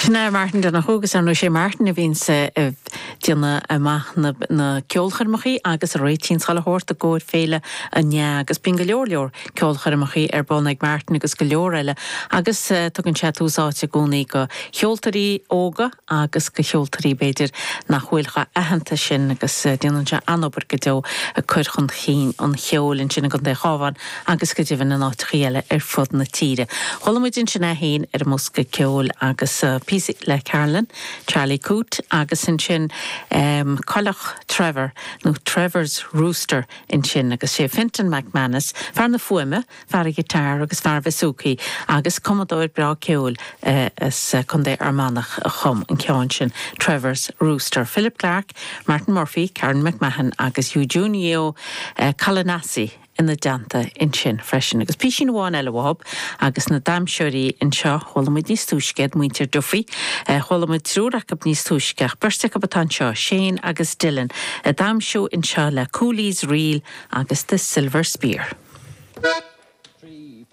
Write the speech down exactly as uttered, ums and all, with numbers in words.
Sin é Martin Donohoe agus ar ndóigh sé Martin a bhíonn ag déanamh amach na, na ceolchoirmeacha agus a réitíonn chuile shórt i gcomhair Féile an Fhéá agus bíonn go leor leor ceolchoirmeacha ar bun ag Martin agus go leor eile agus uh, tugann sé tús áite i gcónaí do cheoltóirí óga agus do cheoltóirí b'fhéidir nach bhfuil chomh haitheanta sin agus uh, déanann sé an-obair go deo ag cur chun cinn an cheoil ansin i gContae an Chabháin agus go deimhin in áiteacha eile ar fud na tíre. Chuala muid sin é féin ar an mbosca ceoil agus uh, píosa le Carolyn, Charlie Coote agus ansin um, Coileach Trevor nó Trevor's Rooster ansin agus sé Fintan McManus, fear na fuaime, fear an ghiotár agus fear bouzouki agus cumadóir breá ceoil uh, as uh, Contae Fhear Manach a chum an ceann sin Trevor's Rooster. Philip Clark, Martin Murphy, Karen McMahon agus Eugenio uh, Calanasi ina dteannta ansin freisin. agus písín amháin eile uathub agus na damhsóirí anseo chuala muid níos túisce muintir Duffy, chuala muid triúr acu níos túisce beirt acu atá anseo Shane agus Dylan, ag damhsa anseo le Cooley's Reel agus the Silver Spear.